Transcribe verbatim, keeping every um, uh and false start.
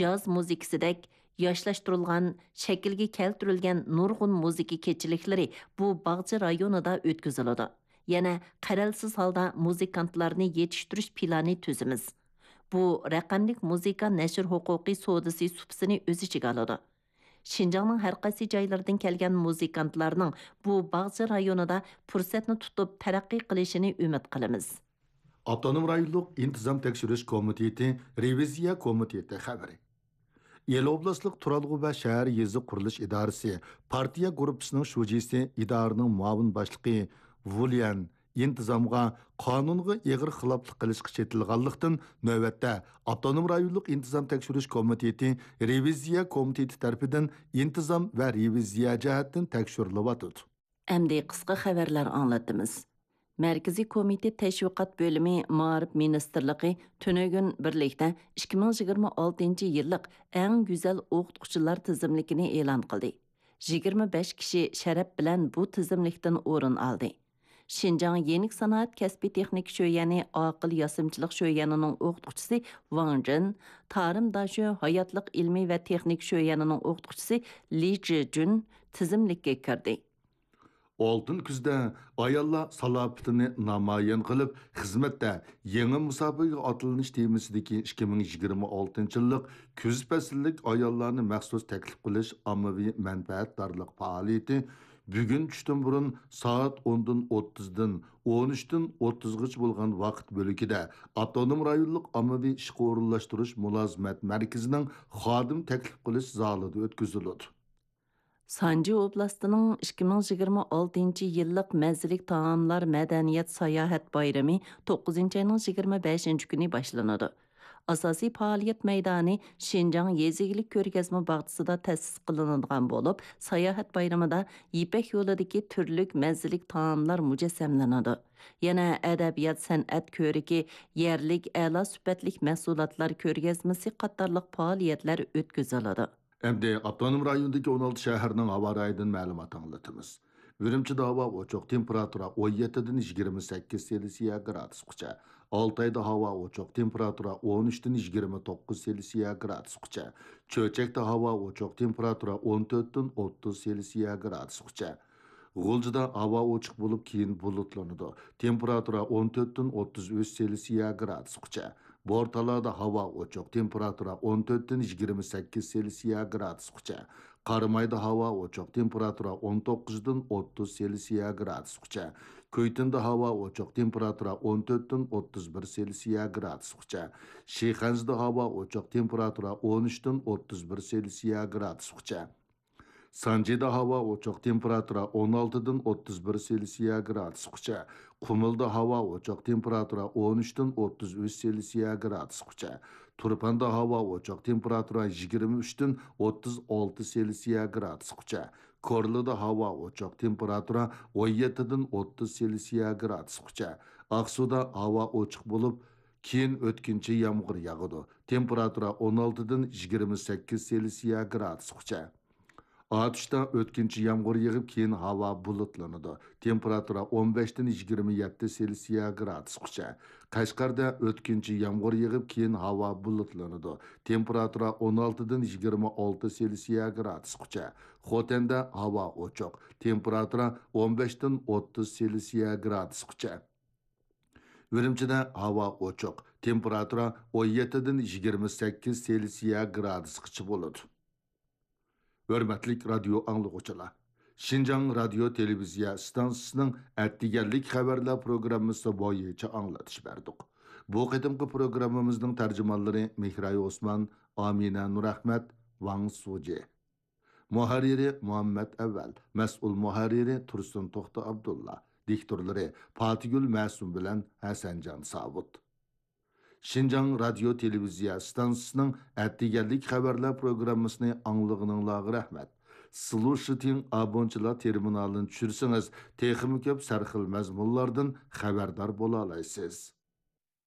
جاز مۇزىكىسىدەك ياشلاشتۇرۇلغان، شەكىلگە كەلتۈرۈلگەن نۇرغۇن مۇزىكا كېچىلىكلىرى بۇ باغچە رايونىدا ئۆتكۈزۈلىدۇ. يەنە قەرەلسىز ھالدا مۇزىكانتلارنى يېتىشتۈرۈش پىلانى تۈزىمىز. بۇ رەقەملىك مۇزىكا نەشر ھوقۇقى سودىسى سۇپىسىنى ئۆز ئىچىگە ئالىدۇ. شىنجاڭنىڭ ھەر قايسى جايلىرىدىن كەلگەن مۇزىكانتلارنىڭ بۇ باغچە رايونىدا پۇرسەتنى تۇتۇپ تەرەققىي قىلىشىنى ئۈمىد قىلىمىز. ئاپتونوم رايونلۇق ئىنتىزام تەكشۈرۈش كومىتېتى رېۋىزىيە كومىتېتى خەۋىرى. ئىلى ئوبلاستلىق تۇرالغۇ ۋە شەھەر يېزا قۇرۇلۇش ئىدارىسى پارتىيە گۇرۇپپىسىنىڭ شۇجىسى، ئىدارىنىڭ مۇئاۋىن باشلىقى ۋۇليەن ئىنتىزامغا قانۇنغا ئېغىر خىلاپلىق قىلىشقا چېتىلغانلىقتىن، نۆۋەتتە ئاپتونوم رايونلۇق ئىنتىزام تەكشۈرۈش كومىتېتى رېۋىزىيە كومىتېتى تەرىپىدىن ئىنتىزام ۋە رېۋىزىيە جەھەتتىن تەكشۈرۈلۈۋاتىدۇ. ئەمدى قىسقا خەۋەرلەر ئاڭلىتىمىز. مەركىزىي كومىتېت تەشۋىقات بۆلۈمى، مائارىپ مىنىستىرلىقى تۈنۈگۈن بىرلىكتە ئىككى مىڭ يىگىرمە ئالتىنچى يىللىق ئەڭ گۈزەل ئوقۇتقۇچىلار تىزىملىكىنى ئېلان قىلدى. يىگىرمە بەش كىشى شەرەپ بىلەن بۇ تىزىملىكتىن ئورۇن ئالدى. شىنجاڭ يېنىك سانائەت كەسپىي تېخنىكا شۆيەنى ئاقىل ياسىمىچىلىق شۆيەنىنىڭ ئوقۇتقۇچىسى ۋاڭ جىن، تارىم داشۆ ھاياتلىق ئىلمىي ۋە تېخنىكا شۆيەنىنىڭ ئوقۇتقۇچىسى لى جىجۈن تىزىملىككە كىردى. ئالتۇن كۈزدە ئاياللار سالاپىتىنى نامايان قىلىپ، خىزمەتتە يېڭى مۇساپىگە ئاتلىنىش تېمىسىدىكى ئىككى مىڭ يىگىرمە ئالتىنچى يىللىق كۈز پەسىللىك ئاياللارنى مەخسۇس تەكلىپ قىلىش ئاممىۋى مەنپەئەتدارلىق پائالىيىتى بۈگۈن چۈشتىن بۇرۇن سائەت ئوندىن ئوتتۇزدىن ئون ئۈچتىن ئوتتۇزغىچە بولغان ۋاقىت بۆلىكىدە ئاپتونوم رايونلۇق ئاممىۋى ئىشقا ئورۇنلاشتۇرۇش مۇلازىمەت مەركىزىنىڭ خادىم تەكلىپ قىلىش زالىدا ئۆتكۈزۈلىدۇ. سانجى ئوبلاستىنىڭ ئىككى مىڭ يىگىرمە ئالتىنچى يىللىق مەززىلىك تائاملار مەدەنىيەت ساياھەت بايرىمى توققۇزىنچى ئاينىڭ يىگىرمە بەشىنچى كۈنى باشلىنىدۇ. ئاساسىي پائالىيەت مەيدانى شىنجاڭ يېزا ئىگىلىك كۆرگەزمە باغچىسىدا تەسىس قىلىنىدىغان بولۇپ، ساياھەت بايرىمىدا يىپەك يولىدىكى تۈرلۈك مەززىلىك تائاملار مۇجەسسەملىنىدۇ. يەنە ئەدەبىيات سەنئەت كۆرىكى، يەرلىك ئەلا سۈپەتلىك مەھسۇلاتلار كۆرگەزمىسى قاتارلىق پائالىيەتلەر ئۆتكۈزۈلىدۇ. ئەمدى ئاپتونوم رايوندىكى ئون ئالتە شەھەرنىڭ ھاۋا رايىدىن مەلۇمات ئاڭلىتىمىز. ئۈرۈمچىدە ھاۋا ئوچۇق، تېمپېراتۇرا ئون يەتتىدىن يىگىرمە سەككىز سېلسىيە گرادۇسقىچە. ئالتايدا ھاۋا ئوچۇق، تېمپېراتۇرا ئون ئۈچتىن يىگىرمە توققۇز سېلسىيە گرادۇسقىچە. چۆچەكتە ھاۋا ئوچۇق، تېمپېراتۇرا ئون تۆتتىن ئوتتۇز سېلسىيە گرادۇسقىچە. غۇلجىدا ھاۋا ئوچۇق بولۇپ، كېيىن بۇلۇتلىنىدۇ. تېمپېراتۇرا ئون تۆتتىن ئوتتۇز ئۈچ سېلسىيە گرادۇسقىچە. بورتالادا ھاۋا ئوچۇق، تېمپېراتۇرا ئون تۆتتىن يىگىرمە سەككىز سېلسىيە گرادۇسقىچە. قارامايدا ھاۋا ئوچۇق، تېمپېراتۇرا ئون توققۇزدىن ئوتتۇز سېلسىيە گرادۇسقىچە. كۈيتۇندا ھاۋا ئوچۇق، تېمپېراتۇرا ئون تۆتتىن ئوتتۇز بىر سېلسىيە گرادۇسقىچە. شىخەنزىدە ھاۋا ئوچۇق، تېمپېراتۇرا ئون ئۈچتىن ئوتتۇز بىر سېلسىيە گرادۇسقىچە. سانجىدا ھاۋا ئوچۇق، تېمپېراتۇرا ئون ئالتىدىن ئوتتۇز بىر سېلسىيە گرادۇسقىچە. قۇمۇلدا ھاۋا ئوچۇق، تېمپېراتۇرا ئون ئۈچتىن ئوتتۇز ئۈچ سېلسىيە گرادۇسقىچە. تۇرپاندا ھاۋا ئوچۇق، تېمپېراتۇرا يىگىرمە ئۈچتىن ئوتتۇز ئالتە سېلسىيە گرادۇسقىچە. كورلىدا ھاۋا ئوچۇق، تېمپېراتۇرا ئون يەتتىدىن ئوتتۇز سېلسىيە گرادۇسقىچە. ئاقسۇدا ھاۋا ئوچۇق بولۇپ، كېيىن ئۆتكۈنچى يامغۇر ياغىدۇ. تېمپېراتۇرا ئون ئالتىدىن يىگىرمە سەككىز سېلسىيە گرادۇسقىچە. ئاتۇشتا ئۆتكۈنچى يامغۇر يېغىپ، كېيىن ھاۋا بۇلۇتلىنىدۇ. تېمپېراتۇرا ئون بەشتىن يىگىرمە يەتتە سېلسىيە گرادۇسقىچە. قەشقەردە ئۆتكۈنچى يامغۇر يېغىپ، كېيىن ھاۋا بۇلۇتلىنىدۇ. تېمپېراتۇرا ئون ئالتىدىن يىگىرمە ئالتە سېلسىيە گرادۇسقىچە. خوتەندە ھاۋا ئوچۇق. تېمپېراتۇرا ئون بەشتىن ئوتتۇز سېلسىيە گرادۇسقىچە. ئۈرۈمچىدە ھاۋا ئوچۇق، تېمپېراتۇرا ئون يەتتىدىن يىگىرمە سەككىز سېلسىيە گرادۇسقىچە بولىدۇ. ھۆرمەتلىك رادىيو ئاڭلىغۇچىلار، شىنجاڭ رادىيو تېلېۋىزىيە ئىستانسىسىنىڭ ئەتىگەنلىك خەۋەرلەر پروگراممىسى بويىچە ئاڭلىتىش بەردۇق. بۇ قېتىمقى پروگراممىمىزنىڭ تەرجىمانلىرى مېھراي ئوسمان، ئامىنە نۇرئەخمەت، ۋاڭ سۇجى. مۇھەررىرى مۇھەممەت ئەۋەل، مەسئۇل مۇھەررىرى تۇرسۇن توختى ئابدۇللا، دىكتورلىرى پاتىگۈل مەسۇم بىلەن ھەسەنجان ساۋۇت. شىنجاڭ رادىيو تېلېۋىزىيە ئىستانسىسىنىڭ ئەتىگەنلىك خەۋەرلەر پروگراممىسىنى ئاڭلىغىنىڭلارغا رەھمەت. سلۇشىتىڭ ئابونچىلار تېرمىنالىنى چۈشۈرسىڭىز، تېخىمۇ كۆپ سەرخىل مەزمۇنلاردىن خەۋەردار بولالايسىز.